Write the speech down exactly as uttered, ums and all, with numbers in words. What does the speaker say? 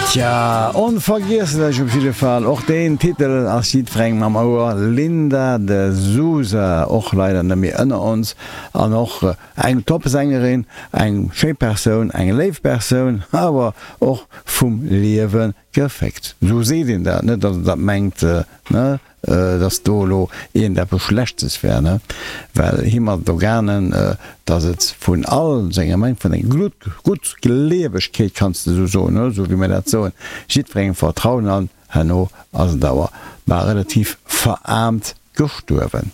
Tja, onvergiesslech op jidde Fall. Och deen Titel ass jiddwerengem am Ouer, Linda de Souza, och leider net méi ënner ons, an och eng Top-Sängerin, eng schéi Persoun, eng léif Persoun, awer och vum Liewe geféckt. Esou seet een dat, net datt een dat mengt, ne? Dass do elo iergendeppes Schlechtes wär, ne, well him ass et do gaangen, dass et vun all senger, meng, vun senger Guttgleewegkeet, kanns de esou soen, ne, esou wéi mir dat soen, jiddwerengem vertrauen an herno ass et awer bal relativ veraarmt gestuerwen.